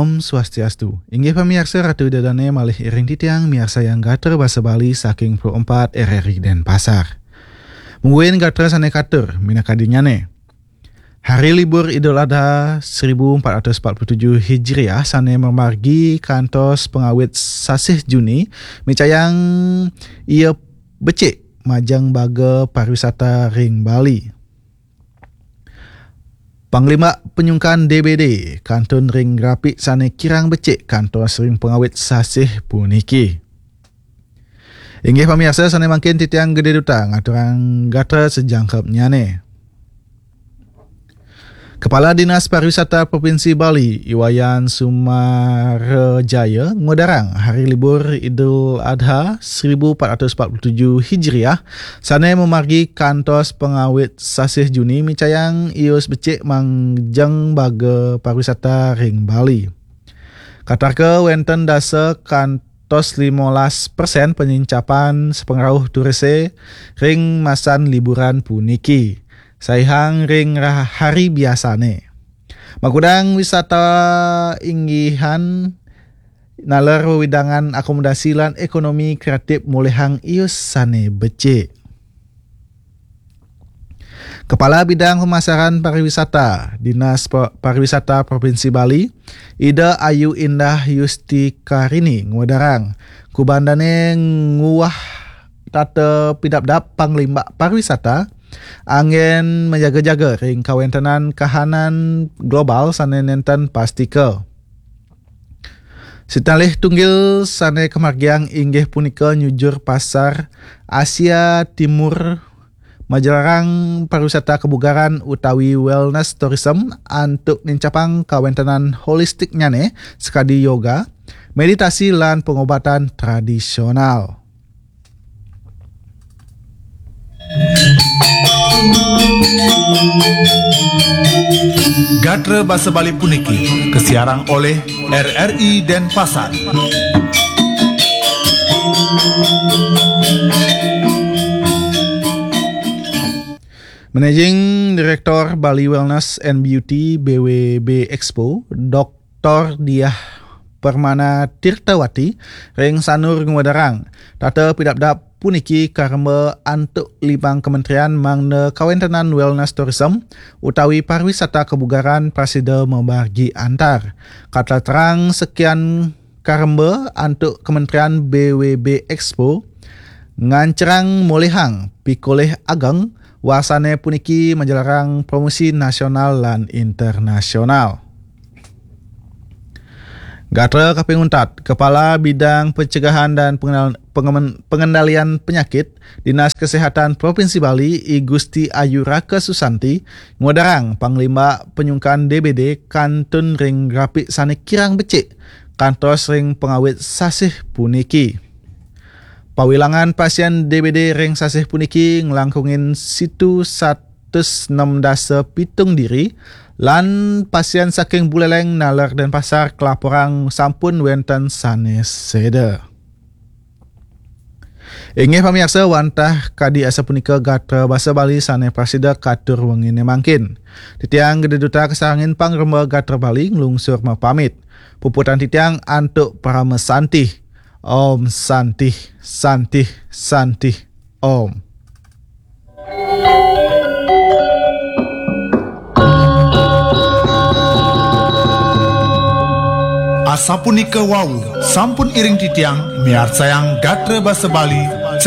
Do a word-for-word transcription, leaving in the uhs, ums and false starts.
Om Swastiastu. Inggih pamiarsa, Ratu Ida Dane malih iring titiang miarsayang gatra basa Bali saking Pro empat R R I Denpasar. Mungguing gatra sane katur minakadinyane. Hari libur Idul Adha seribu empat ratus empat puluh tujuh Hijriah sane mamargi kantos pangawit sasih Juni micayang ia becik majeng baga pariwisata ring Bali. Panglimbak panyungkan D B D kantun ring grafik sane kirang becik kantos ring pangawit sasih puniki. Inggih pamiarsa, sane mangkin titiang Gede Duta ngaturang gatra sajangkepnyane. Kepala Dinas Pariwisata Provinsi Bali, I Wayan Sumarajaya, ngudarang hari libur Idul Adha seribu empat ratus empat puluh tujuh Hijriah sane mamargi kantos pangawit sasih Juni micayang ius becik majeng baga pariwisata ring Bali. Katarka wenten dasa kantos limolas persen penincapan sapangrauh turise ring masan liburan puniki, saihang ring rah-, hari biasane. Makudang wisata inggihan naler wewidangan akomodasi lan ekonomi kreatif molihang ius sane becik. Kepala Bidang Pemasaran Pariwisata, Dinas Pa-, Pariwisata Provinsi Bali, Ida Ayu Indah Yusti Karini ngudarang, kubandane nguah tata pidabdab panglimbak pariwisata, anggen majaga-jaga ring kawentenan kahanan global sane nenten pastika. Sitalih tunggil sane kamargiang inggih punika nyujur pasar Asia Timur, majarang pariwisata kebugaran utawi wellness tourism antuk nincapang kawentenan holistiknyane sakadi yoga, meditasi lan pengobatan tradisional. Gatra basa Bali puniki kasiarang oleh R R I Denpasar. Managing Director Bali Wellness and Beauty B W B Expo, Doktor Diah Permana Tirtawati ring Sanur ngudarang, tata pidabdab puniki karemba antuk limang kementerian mangda kawentenan wellness tourism utawi pariwisata kebugaran prasida mamargi antar. Kataterang sekian karemba antuk Kementerian B W B Expo ngancerang molihang pikolih ageng wasane puniki majalarang promosi nasional lan internasional. Gatra kaping untat, Kepala Bidang Pencegahan dan Pengenal-, Pengemen-, Pengendalian Penyakit, Dinas Kesehatan Provinsi Bali, I Gusti Ayu Raka Susanti, ngudarang panglimbak panyungkan D B D kantun ring grafik sane kirang becik kantos ring pangawit sasih puniki. Pawilangan pasien D B D ring sasih puniki nglangkungin situ satus nem dasa pitung diri, lan pasien saking Buleleng naler Denpasar kalaporang sampun wenten sane seda. Inggih pamiarsa, wantah kadi asapunika gatra basa Bali sane prasida katur wengine mangkin. Titiang Gede Duta kasarengin pangremba gatra Bali nglungsur mapamit. Puputang titiang antuk parama santih. Om Santih, Santih, Santih, Om. Asapunika wau, sampun iring titiang miarsayang gatra basa Bali